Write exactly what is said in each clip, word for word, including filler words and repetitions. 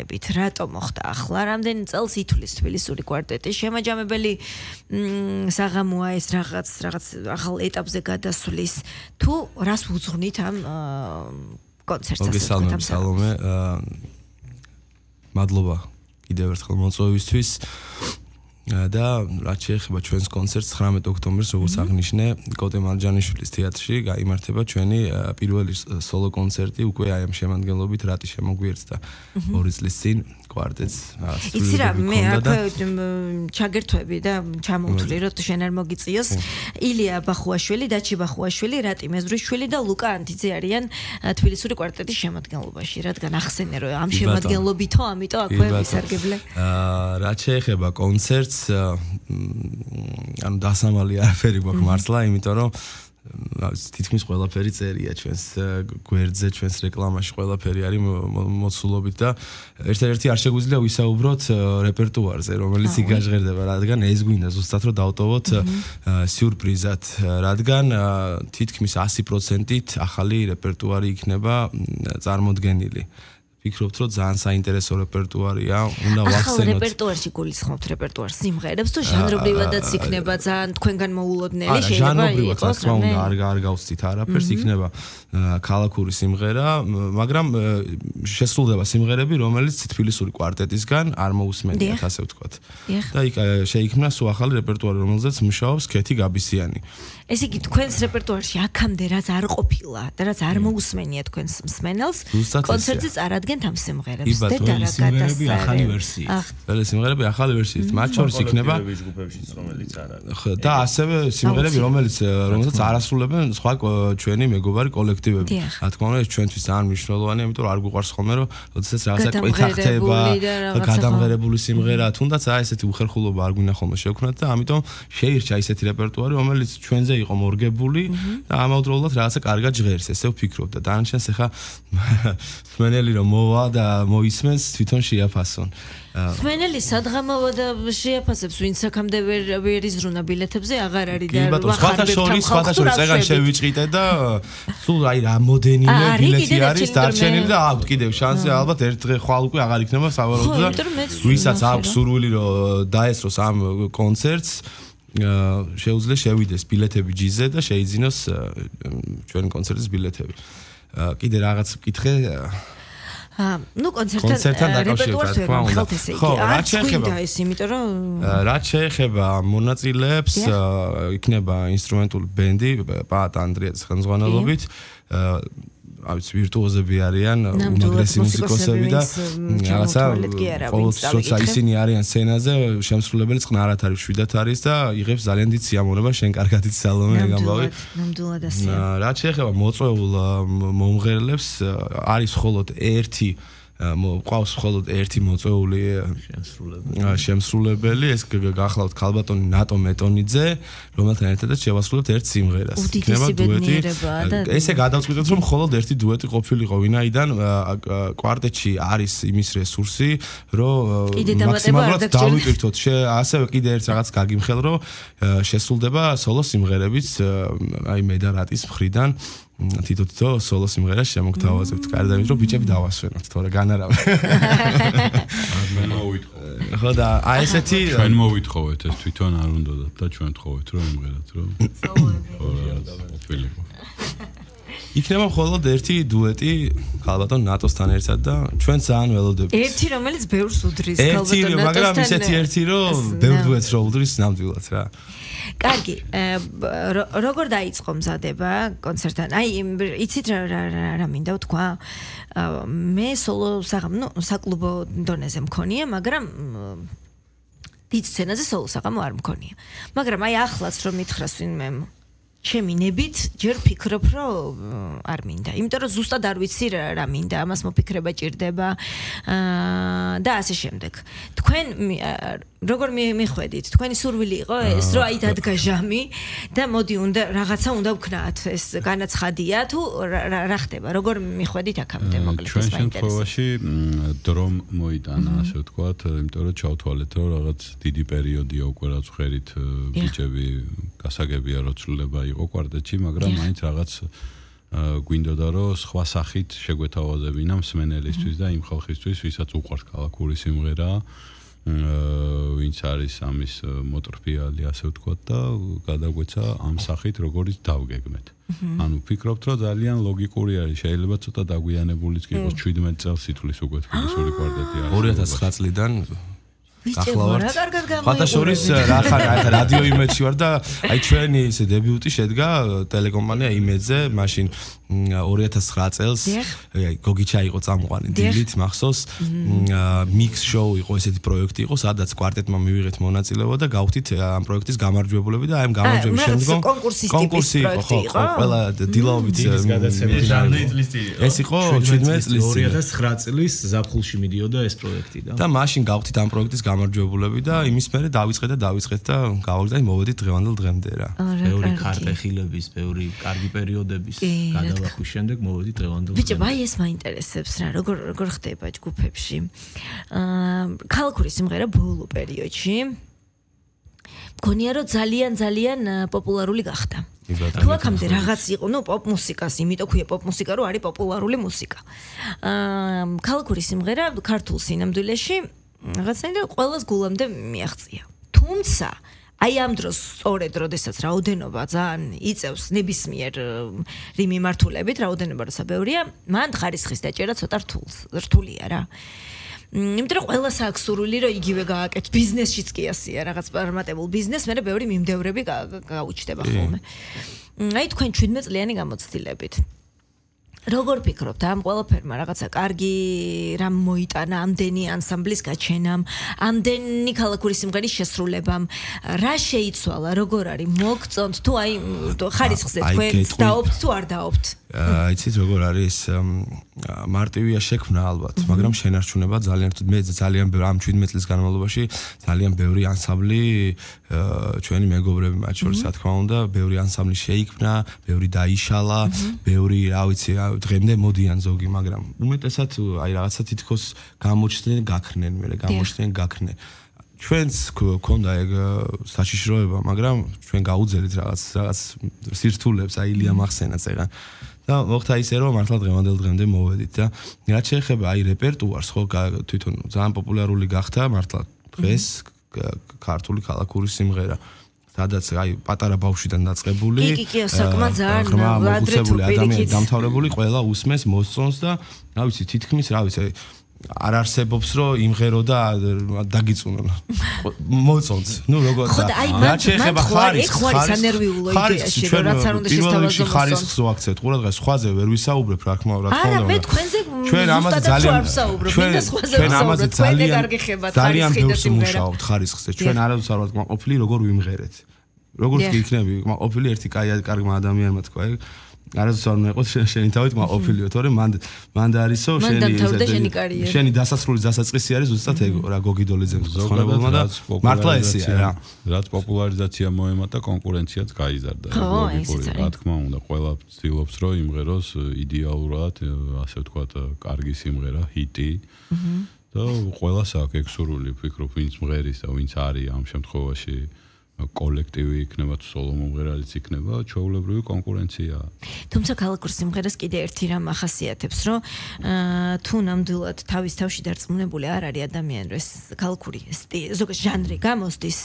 გაგონებით, რატო მოხდა ახლა, რამდენი წელს ითვლის თბილისური კვარტეტი, შემაჯამებელი საღამოა ეს რაღაც რაღაც ახალ ეტაპზე გადასვლის, თუ რას უძღვნით ამ კონცერტს? მოგესალმებით სალომე, მადლობა კიდევ ერთხელ მოწვევისთვის. და რაც შეეხება ჩვენს კონცერტს ცხრამეტ ოქტომბერს, როგორც აღნიშნე, კოტე მარჯანიშვილის თეატრში გაიმართება ჩვენი პირველი სოლო კონცერტი, უკვე აი ამ შემადგენლობით რატი შემოგვიერთდა ორი წლის წინ კვარტეტს. იცი რა, მე აქ ჩაგერთვები და ჩამოვთვლი, რომ შენ არ მოგიწიოს. ილია ბახუაშვილი, დაჩი ბახუაშვილი, რატი მეზრიშვილი და ლუკა ანთიძე არიან თბილისური კვარტეტის შემადგენლობაში, რადგან ახსენე რომ ამ შემადგენლობითო, ამიტომ აქვე ვისარგებლე. რაც შეეხება კონცერტს ანუ დასამალი არაფერი გვაქვს მართლა, იმიტომ რომ თითქმის ყველაფერი წერია ჩვენს გვერდზე, ჩვენს რეკლამაში ყველაფერი არის მოცულობით და ერთ-ერთი არ შეგვიძლია ვისაუბროთ რეპერტუარზე, რომელიც იგაჟღერდება, რადგან ეს გვინდა ზუსტად რომ დავტოვოთ სიურპრიზად, რადგან თითქმის ასი პროცენტით ახალი რეპერტუარი იქნება წარმოდგენილი. ვფიქრობთ, რომ ძალიან საინტერესო რეპერტუარია, უნდა ვახსენოთ. ახალ რეპერტუარში გულისხმობთ რეპერტუარს სიმღერებს თუ ჟანრობრივადაც იქნება ძალიან თქვენგან მოულოდნელი შეიძლება იყოს? ჟანრობრივად, რა თქმა უნდა, არ არ გავცდით არაფერს, იქნება ქალაქური სიმღერა, მაგრამ შესრულდება სიმღერები, რომელიც თბილისური კვარტეტისგან არ მოусმენიათ, ასე ვთქვათ. და იქ შეიქმნა სულ ახალი რეპერტუარი, რომელზეც მუშაობს ქეთი გაბისიანი. ესე იგი, თქვენს რეპერტუარში აქამდე რაც არ ყოფილა და რაც არ მოусმენია თქვენს მსმენელს, კონცერტზე წარადგენთ ამ სიმღერებს და რა სიმღერები ახალი ვერსიით. ყველა სიმღერები ახალი ვერსიით, მათ შორის იქნება ჯგუფებშიც, რომელიც არ არის. და ასევე სიმღერები, რომელიც რომელსაც არ ასრულებენ სხვა ჩვენი მეგობარი კოლექტივები. რა თქმა უნდა, ეს ჩვენთვის ძალიან მნიშვნელოვანია, იმიტომ რომ არ გვიყვარს ხოლმე, რომ როდესაც რაღაცა კვეთა ხდება, გადამღერებული სიმღერა, თუნდაც აი ესეთი უხერხულობა არ გვინდა ხოლმე შევქნათ და ამიტომ შეირჩა ისეთი რეპერტუარი, რომელიც ჩვენზე იყო მორგებული და ამავდროულად რაღაცა კარგად ჟღერს, ესე ვფიქრობ და დანარჩენს ახლა მსმენელი რომ მოვა და მოისმენს, თვითონ შეაფასონ. მსმენელი სადღამოვა და შეაფასებს, ვინც აქამდე ვერ ვერ იზრუნა ბილეთებზე, აღარ არის და კი ბატონო, სხვათა შორის, სხვათა შორის წეგან შევიჭრიტე და სულ აი რამოდენიმე ბილეთი არის დარჩენილი და აქვს კიდევ შანსი, ალბათ ერთ დღე ხვალ უკვე აღარ იქნება სავარაუდოდ და ვისაც აქვს სურვილი რომ დაესწროს ამ კონცერტს, შეუძლია შევიდეს ბილეთები ჯიზე და შეიძინოს ჩვენი კონცერტის ბილეთები. კიდე რაღაც ვკითხე ну კონცერტთან რეპერტუარს ვერ ხალთ ესე იგი. რაც შეეხება ეს, იმიტომ რომ რაც შეეხება მონაწილეებს, იქნება ინსტრუმენტული ბენდი პაატ ანდრიაძის ხელმძღვანელობით. აი ვირტუოზები არიან, უმაგრესი მუსიკოსები და რაღაცა ყოველთვის როცა ისინი არიან სცენაზე, შემსრულებელი წყნარად არის, შვიდათ არის და იღებს ძალიან დიდ სიამოვნებას, შენ კარგად იცი სალომე გამბავი. ნამდვილად ასეა. რაც შეეხება მოწვეულ მომღერლებს, არის მხოლოდ ერთი მყავს მხოლოდ ერთი მოწვეული შემსრულებელი, ეს გახლავთ ქალბატონი ნატო მეტონიძე, რომელთან ერთადაც შევასრულებთ ერთ სიმღერას. იქნება დუეტი. ესე გადავწყვიტეთ, რომ მხოლოდ ერთი დუეტი ყოფილიყო, ვინაიდან კვარტეტში არის იმის რესურსი, რომ მაქსიმალურად დავიტვირთოთ. ასევე კიდე ერთ რაღაც გაგიმხელ, რომ შესრულდება სოლო სიმღერებიც, აი მე და რატის მხრიდან. თითო-თითო სოლო სიმღერას შემოგთავაზებთ. კარგი, იმიტომ რომ ბიჭები დავასვენოთ, თორე განარავე. მე მოვითხოვე. ხო და აი ესეთი ჩვენ მოვითხოვეთ, ეს თვითონ არ უნდათ და ჩვენ თხოვეთ რომ იმღერათ, რომ სოლოები. იქნება მხოლოდ ერთი დუეტი ქალბატონ ნატოსთან ერთად და ჩვენ ძალიან ველოდებით. ერთი რომელიც ბევრს უდრის ქალბატონ ნატოსთან. მაგრამ ისეთი ერთი რომ ბევრ დუეტს რო უდრის ნამდვილად რა. კარგი, როგორ დაიწყო მზადება კონცერტთან? აი, იცით რა რა მინდა ვთქვა? მე სოლო საღამო, ნუ საკლუბო დონეზე მქონია, მაგრამ დიდ სცენაზე სოლო საღამო არ მქონია. მაგრამ აი ახლაც რომ მითხრას ვინმე ჩემი ნებით ჯერ ფიქრობ რომ არ მინდა. იმიტომ რომ ზუსტად არ ვიცი რა მინდა, ამას მოფიქრება ჭირდება და ასე შემდეგ. თქვენ როგორ მიხვედით? თქვენი სურვილი იყო ეს, რომ აი დადგა ჟამი და მოდი უნდა რაღაცა უნდა ვქნათ, ეს განაცხადია თუ რა ხდება? როგორ მიხვედით აქამდე მოკლედ ჩვენ შემთხვევაში დრომ მოიტანა, ასე ვთქვათ, იმიტომ რომ ჩავთვალეთ, რომ რაღაც დიდი პერიოდია უკვე რაც ხერით ბიჭები გასაგებია რომ ცვლილება იყო კვარტეტში, მაგრამ მაინც რაღაც გვინდოდა რომ სხვა სახით შეგვეთავაზებინა მსმენელისთვის და იმ ხალხისთვის, ვისაც უყვარს ქალაქური სიმღერა, ვინც არის ამის მოტრფიალი, ასე ვთქვათ და გადაგვეცა ამ სახით როგორიც დავგეგმეთ. ანუ ვფიქრობთ რომ ძალიან ლოგიკური არის, შეიძლება ცოტა დაგვიანებულიც კი იყოს შვიდმეტ წელს ითვლის უკვე თბილისური კვარტეტი არის. ორი ათას ცხრა წლიდან ახლა რა კარგად გამოიყურე. ფათაშორის რა ხარ, აი ხა რადიო იმედში ვარ და აი ჩვენი ესე დებიუტი შედგა ტელეკომპანია იმედზე, მაშინ ორი ათას ცხრა წელს აი გოგიჩა იყო წამყვანი დილით მახსოვს მიქს შოუ იყო ესეთი პროექტი იყო, სადაც კვარტეტმა მივიღეთ მონაწილეობა და გავხდით ამ პროექტის გამარჯვებულები და აი ამ გამარჯვების შემდგომ კონკურსი იყო, ხო, ყველა დილაობით ეს იყო შვიდმეტ წლის ორი ათას ცხრა წლის ზაფხულში მიდიოდა ეს პროექტი და და მაშინ გავხდით ამ პროექტის გამარჯვებულები და იმის მერე დავიწყეთ და დავიწყეთ და გავაგზავნეთ და მოვედით დღევანდელ დღემდე რა. ბევრი ქარტეხილების, ბევრი კარგი პერიოდების გადალახვის შემდეგ მოვედით დღევანდელ დღემდე. ბიჭო, აი ეს მაინტერესებს რა, როგორ როგორ ხდება ჯგუფებში. აა ქალაქური სიმღერა ბოლო პერიოდში მგონია რომ ძალიან ძალიან პოპულარული გახდა. თუ აქამდე რაღაც იყო, ნუ პოპ მუსიკას, იმიტომ ქვია პოპ მუსიკა, რომ არის პოპულარული მუსიკა. აა ქალაქური სიმღერა ქართულ სინამდვილეში რაღაცნაირად ყველას გულამდე მიაღწია. თუმცა აი ამ დროს სწორედ როდესაც რაოდენობა ძალიან იწევს ნებისმიერ რიმ მიმართულებით, რაოდენობა როცა ბევრია, მან ხარისხის დაჭერა ცოტა რთულია რა. იმიტომ რომ ყველას აქვს სურვილი რომ იგივე გააკეთოს, ბიზნესშიც კი ასეა, რაღაც პარმატებულ ბიზნეს, მერე ბევრი მიმდევრები გაუჩნდება ხოლმე. აი თქვენ შვიდმეტ წლიანი გამოცდილებით როგორ ფიქრობთ ამ ყველაფერმა რაღაცა კარგი რამ მოიტანა ამდენი ანსამბლის გაჩენამ, ამდენი ქალაქური სიმღერის შესრულებამ, რა შეიცვალა, როგორ არის მოგწონთ თუ აი ხარისხზე თქვენ დაობთ თუ არ დაობთ? აი იცით როგორ არის მარტივია შექმნა ალბათ, მაგრამ შენარჩუნება ძალიან მე ძალიან ბევრი ამ შვიდმეტ წლის განმავლობაში ძალიან ბევრი ანსამბლი ჩვენი მეგობრები მათ შორის რა თქმა უნდა, ბევრი ანსამბლი შეიქმნა, ბევრი დაიშალა, ბევრი რა ვიცი დღემდე მოდიან ზოგი, მაგრამ უმეტესად აი რაღაცა თითქოს გამოჩნდნენ, გაქრნენ, მე გამოჩნდნენ, გაქრნენ. ჩვენც გქონდა ეგ საშიშროება, მაგრამ ჩვენ გაუძელით რაღაც რაღაც სირთულებს, აი ილია მახსენა წერან. და მოხდა ისე რომ მართლა დღევანდელ დღემდე მოვედით და რაც შეეხება აი რეპერტუარს, ხო თვითონ ძალიან პოპულარული გახდა მართლა დღეს ქართული ქალაქური სიმღერა. სადაც აი პატარა ბავშვიდან დაწყებული კი კი საკმაოდ ძალიან ადრე თუ ადამიანი დამთავრებული ყველა უსმენს მოსწონს და რა ვიცი თითქმის რა ვიცი არ არსებობს რომ იმღერო და დაგიწუნონ მოწონს ნუ როგორ და რა შეიძლება ხარის ხარის ანერვიულო იდეაში რომ რაც არ უნდა შესთავაზოს ხარისხს ვაქცევთ ყურადღებას სხვაზე ვერ ვისაუბრებ რა თქმა უნდა არა მე თქვენზე ჩვენ ამაზე ძალიან ჩვენ ამაზე ძალიან ძალიან ბევრს მუშაობთ ხარისხზე ჩვენ არავის არ ვართ ყოფილი როგორ ვიმღერეთ როგორც კი იქნები ყოფილი ერთი კაი კარგმა ადამიანმა თქვა ეგ არასდროს არ უნდა იყოს შენი თავით ყოფილიო თორემ მან მან და არისო შენი შენი დასასრული დასაწყისი არის ზუსტად ეგ რა გოგიდოლიძემ ხონებულმა და მართლა ესეა რა რაც პოპულარიზაცია მოემატა კონკურენციაც გაიზარდა რა თქმა უნდა ყველა ცდილობს რომ იმღეროს იდეალურად ასე ვთქვათ კარგი სიმღერა ჰიტი და ყველას აქვს ეგ სურვილი ვფიქრობ ვინც მღერის და ვინც არის ამ შემთხვევაში კოლექტივი იქნება თუ სოლო მომღერალიც იქნება, ჩვეულებრივი კონკურენციაა. თუმცა ქალაქურ სიმღერას კიდე ერთი რამ ახასიათებს, რომ თუ ნამდვილად თავის თავში დარწმუნებული არ არის ადამიანი, რომ ეს ქალაქური ზოგადად ჟანრი გამოსდის,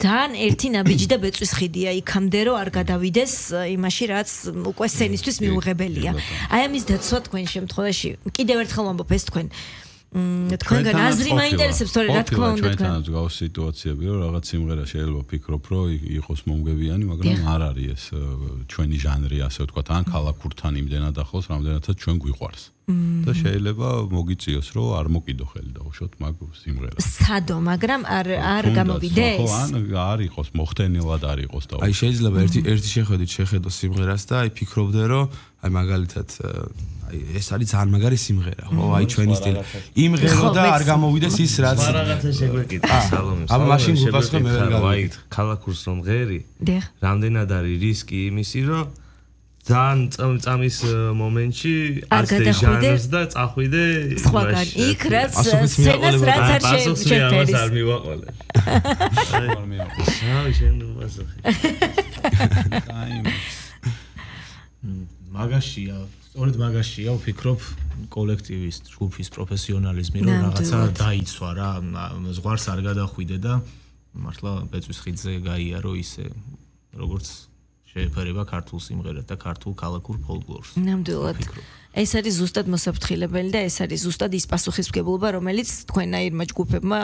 ძალიან ერთი ნაბიჯი და ბეწვის ხიდია იქამდე, რომ არ გადავიდეს იმაში, რაც უკვე სცენისთვის მიუღებელია. აი ამის დაცვა თქვენ შემთხვევაში კიდევ ერთხელ ვამბობ ეს თქვენ თქვენგან აზრი მაინტერესებს, თორე რა თქმა უნდა თქვენ. ჩვენთან გავს სიტუაციები, რომ რაღაც სიმღერა შეიძლება ვფიქრობ, რომ იყოს მომგებიანი, მაგრამ არ არის ეს ჩვენი ჟანრი, ასე ვთქვათ, ან ქალაქურთან იმდენად ახლოს, რამდენადაც ჩვენ გვიყვარს. და შეიძლება მოგიწიოს, რომ არ მოკიდო ხელი დავუშვოთ მაგ სიმღერას. სადო, მაგრამ არ არ გამოვიდეს. ხო, ან არ იყოს მოხდენილად არ იყოს და აი შეიძლება ერთი ერთი შეხედვით შეხედო სიმღერას და აი ფიქრობდე, რომ აი მაგალითად აი ეს არის ძალიან მაგარი სიმღერა, ხო, აი ჩვენი სტილი. იმღერო და არ გამოვიდეს ის რაც რაღაცა შეგვეკითხა სალომე. აბა მაშინ გუპასხე მე ვერ გავიგე. ქალაქურს რომ ღერი? რამდენად არის რისკი იმისი, რომ ძალიან წამის მომენტში ასეთი ჟანრს და წახვიდე სხვაგან იქ რაც სცენას რაც არ შეფერის. არ მივაყოლე. აი შენ ვასახე. აი მაგაშია, სწორედ მაგაშია ვფიქრობ კოლექტივის, ჯგუფის პროფესიონალიზმი, რომ რაღაცა დაიცვა რა, ზღვარს არ გადახვიდე და მართლა ბეწვის ხიდზე გაიარო ისე, როგორც შეეფერება ქართულ სიმღერას და ქართულ ქალაქურ ფოლკლორს. ნამდვილად. ეს არის ზუსტად მოსაფრთხილებელი და ეს არის ზუსტად ის პასუხისმგებლობა, რომელიც თქვენაირმა ჯგუფებმა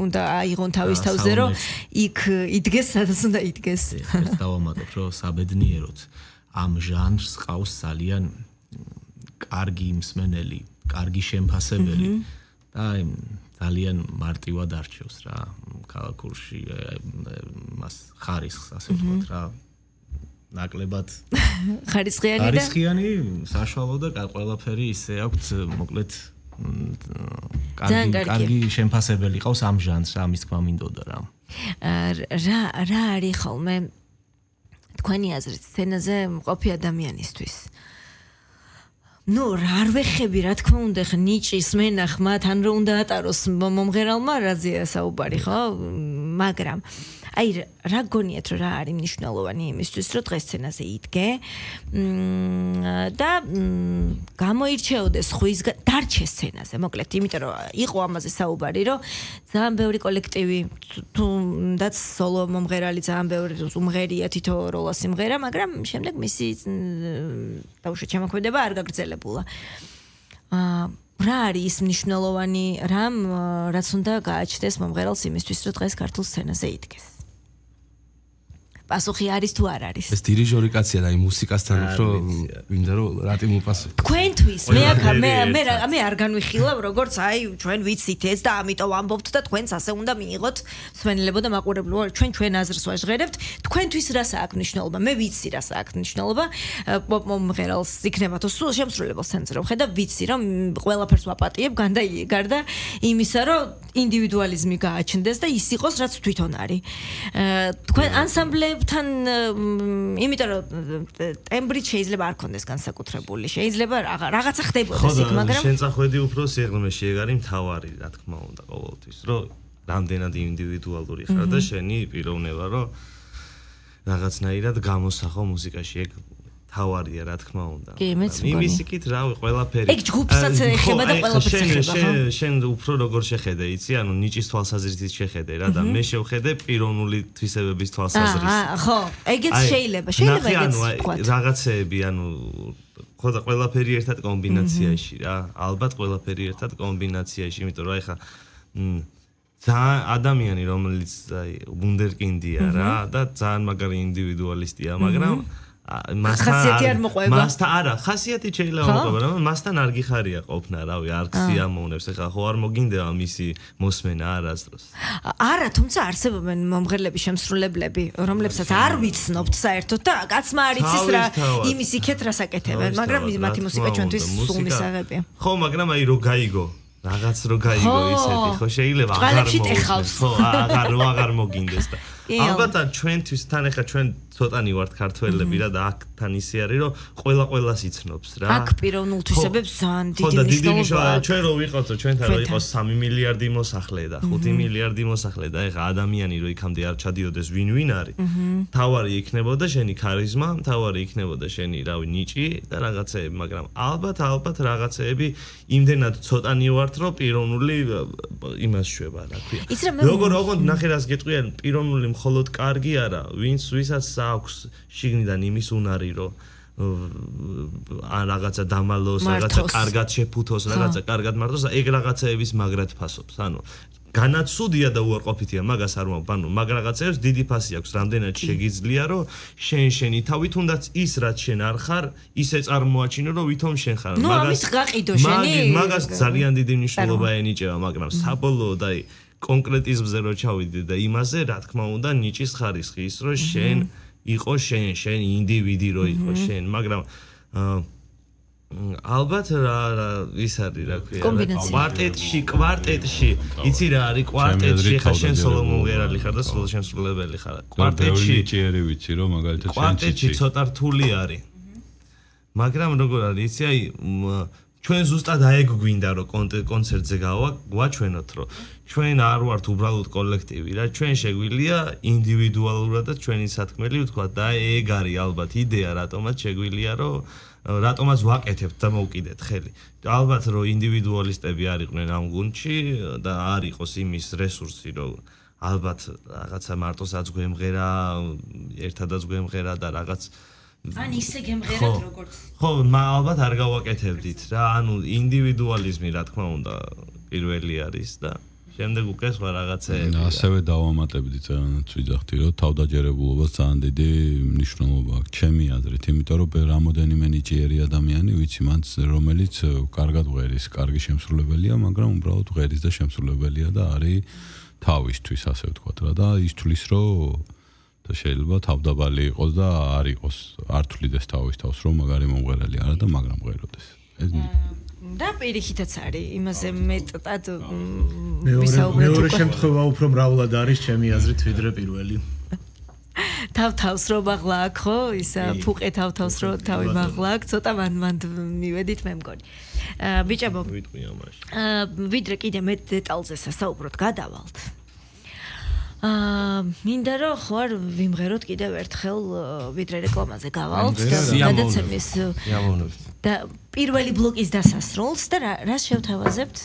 უნდა აიღონ თავის თავზე, რომ იქ იდგეს, სადაც უნდა იდგეს. ეს დავამატებ, რომ საბედნიეროდ ამ ჟანრს ყავს ძალიან კარგი მსმენელი, კარგი შემფასებელი და ძალიან მარტივად არჩევს რა ქალაქურში მას ხარისხს, ასე ვთქვათ რა. ნაკლებად ხარისხიანი და ხარისხიანი საშუალო და ყველაფერი ისე აქვს მოკლედ კარგი კარგი შემფასებელი ყავს ამ ჟანრს ამის თქმა მინდოდა რა რა რა არის ხოლმე თქვენი აზრით სცენაზე მყოფი ადამიანისთვის ნუ რა არ ვეხები რა თქმა უნდა ხ ნიჭის მენახმა თან რო უნდა ატაროს მომღერალმა რაზეა საუბარი ხო მაგრამ აი რა გონიათ რომ რა არის მნიშვნელოვანი იმისთვის რომ დღეს სცენაზე იდგე და გამოირჩეოდეს ხუის დარჩეს სცენაზე მოკლედ იმიტომ რომ იყო ამაზე საუბარი რომ ძალიან ბევრი კოლექტივი თუნდაც სოლო მომღერალი ძალიან ბევრი უმღერია თითო როლა სიმღერა მაგრამ შემდეგ მისი დაუშვით შემოქმედება არ გაგრძელებულა აა რა არის ის მნიშვნელოვანი რამ რაც უნდა გააჩნდეს მომღერალს იმისთვის რომ დღეს ქართულ სცენაზე იდგეს პასუხი არის თუ არ არის ეს დირიჟორი კაცია და იმ მუსიკასთან უფრო მინდა რომ რატი მოპასუხო თქვენთვის მე აქ მე მე მე არ განვიხილავ როგორც აი ჩვენ ვიცით ეს და ამიტომ ამბობთ და თქვენს ასე უნდა მიიღოთ მსმენელებო და მაყურებლებო ჩვენ ჩვენ აზრს ვაჟღერებთ თქვენთვის რას აქვს მნიშვნელობა მე ვიცი რას აქვს მნიშვნელობა პოპ მომღერალს იქნება თუ სულ შემსრულებელს სცენაზე რომ ხედა ვიცი რომ ყველაფერს ვაპატიებ გარდა გარდა იმისა რომ ინდივიდუალიზმი გააჩნდეს და ის იყოს რაც თვითონ არის თქვენ ანსამბლე თან იმიტომ რომ ტემბრით შეიძლება არ კონდეს განსაკუთრებული შეიძლება რაღაცა ხდებოდეს იქ მაგრამ შენ წახვედი უფრო სიღრმეში ეგ არის მთავარი რა თქმა უნდა ყოველთვის რომ რამდენად ინდივიდუალური ხარ და შენი პიროვნება რომ რაღაცნაირად გამოსახო მუსიკაში ეგ თავარია რა თქმა უნდა. იმის იქით რავი ყველაფერი. ეგ ჯგუფსაც ეხება და ყველაფერს ეხება. შენ შენ უფრო როგორ შეხედე, იცი? ანუ ნიჭის თვალსაზრისით შეხედე რა და მე შევხედე პიროვნული თვისებების თვალსაზრისით. აა ხო, ეგეც შეიძლება, შეიძლება ეგეც ვთქვა. რაღაცეები, ანუ ხო და ყველაფერი ერთად კომბინაციაში რა. ალბათ ყველაფერი ერთად კომბინაციაში, იმიტომ რომ აი ხა ძალიან ადამიანი რომელიც აი ვუნდერკინდია რა და ძალიან მაგარი ინდივიდუალისტია, მაგრამ ხასიათი არ მოყვება. მასთან არა, ხასიათი შეიძლება მოყვება, მაგრამ მასთან არ გიხარია ყოფნა, რავი, არ გსიამოვნებს, ეხლა ხო არ მოგინდება მისი მოსმენა არასდროს. არა, თუმცა არსებობენ მომღერლები, შემსრულებლები, რომლებსაც არ ვიცნობთ საერთოდ და კაცმა არ იცის რა იმის იქეთ რას აკეთებენ, მაგრამ მათი მუსიკა ჩვენთვის სულ მისაღებია. ხო, მაგრამ აი რო გაიგო რაღაც რო გაიგო ისეთი, ხო შეიძლება აღარ მოგინდეს. ხო, აღარ აღარ მოგინდეს და ალბათ ჩვენთვის თან ახლა ჩვენ ცოტანი ვართ ქართველები რა და აქთან ისე არის რომ ყველა ყველას იცნობს რა. აქ პიროვნულ თვისებებს ძალიან დიდი მნიშვნელობა. ჩვენ რო ვიყოთ ჩვენთან რო იყოს სამი მილიარდი მოსახლე და ხუთი მილიარდი მოსახლე და ახლა ადამიანი რო იქამდე არ ჩადიოდეს ვინ ვინ არის. თავარი იქნებოდა შენი ქარიზმა, თავარი იქნებოდა შენი რავი ნიჭი და რაღაცეები, მაგრამ ალბათ ალბათ რაღაცეები იმდენად ცოტანი ვართ რომ პიროვნული იმას შვება რა ქვია. როგორ როგორ ნახე რას გეტყვიან პიროვნული მხოლოდ კარგი არა, ვინც ვისაც აქვს შიგნიდან იმის უნარი, რომ ან რაღაცა დამალოს, რაღაცა კარგად შეფუთოს, რაღაცა კარგად მარტოს, ეგ რაღაცეების მაგრად ფასობს. ანუ განაცუდია და უარყოფითია, მაგას არ მომბ, ანუ მაგ რაღაცეებს დიდი ფასი აქვს, რამდენად შეგიძლია, რომ შენ შენი თავი თუნდაც ის რაც შენ არ ხარ, ისე წარმოაჩინო, რომ ვითომ შენ ხარ. მაგას გაყიდო შენი. მაგას ძალიან დიდი მნიშვნელობა ენიჭება, მაგრამ საბოლოოდ აი კონკრეტიზმზე რო ჩავიდე და იმაზე რა თქმა უნდა ნიჭის ხარისხი ის რომ შენ იყო შენ შენ ინდივიდი რო იყო შენ მაგრამ ალბათ რა ის არის რა ქვია კვარტეტში კვარტეტში იცი რა არის კვარტეტში ხა შენ სოლო მომღერალი ხარ და სოლო შემსრულებელი ხარ კვარტეტში ნიჭიერი ვიცი რომ მაგალითად შენ კვარტეტში ცოტა რთული არის მაგრამ როგორ არის იცი აი ჩვენ ზუსტად აეგ გვინდა რომ კონცერტზე გავაჩვენოთ რომ ჩვენ არ ვართ უბრალოდ კოლექტივი რა ჩვენ შეგვიძლია ინდივიდუალურადაც ჩვენი სათქმელი ვთქვა და ეგ არის ალბათ იდეა რატომაც შეგვიძლია რომ რატომაც ვაკეთებთ და მოვკიდეთ ხელი. ალბათ რომ ინდივიდუალისტები არ იყვნენ ამ გუნდში და არ იყოს იმის რესურსი რომ ალბათ რაღაცა მარტოსაც გვემღერა, ერთადაც გვემღერა და რაღაც ან ისე გემღერათ როგორც ხო, ალბათ არ გავაკეთებდით რა, ანუ ინდივიდუალიზმი რა თქმა უნდა პირველი არის და შემდეგ უკვე სხვა რაღაცეები. ასევე დავამატებდი ძალიან ვიძახდი რომ თავდაჯერებულობას ძალიან დიდი მნიშვნელობა აქვს ჩემი აზრით, იმიტომ რომ რამოდენიმე ნიჭიერი ადამიანი ვიცი მანც რომელიც კარგად ვღერის, კარგი შემსრულებელია, მაგრამ უბრალოდ ვღერის და შემსრულებელია და არის თავისთვის ასე ვთქვათ რა და ის თulis რომ და შეიძლება თავდაბალი იყოს და არ იყოს არ თulides თავის თავს რომ მაგარი მომღერალი არა და მაგრამ მღეროდეს. ეს და პირიქითაც არის იმაზე მეტად ვისაუბრეთ. მეორე შემთხვევა უფრო მრავლად არის ჩემი აზრით ვიდრე პირველი. თავ-თავს რო მაღლა აქ ხო ისა ფუყე თავ-თავს რო თავი მაღლა აქ ცოტა მან მან მივედით მე მგონი. ბიჭებო ვიტყვი ამაში. ვიდრე კიდე მეტ დეტალზე სასაუბროთ გადავალთ. აა მინდა რომ ხო არ ვიმღეროთ კიდევ ერთხელ ვიდრე რეკლამაზე გავალთ და გადაცემის და პირველი ბლოკის დასასრულს და რას შევთავაზებთ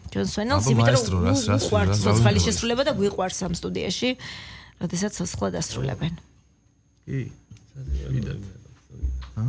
ჩვენ სვენელს იმიტომ რომ უყვართ სოციალური შესრულება და გვიყვარს ამ სტუდიაში როდესაც სხვა დასრულებენ. კი. საერთოდ. ჰა?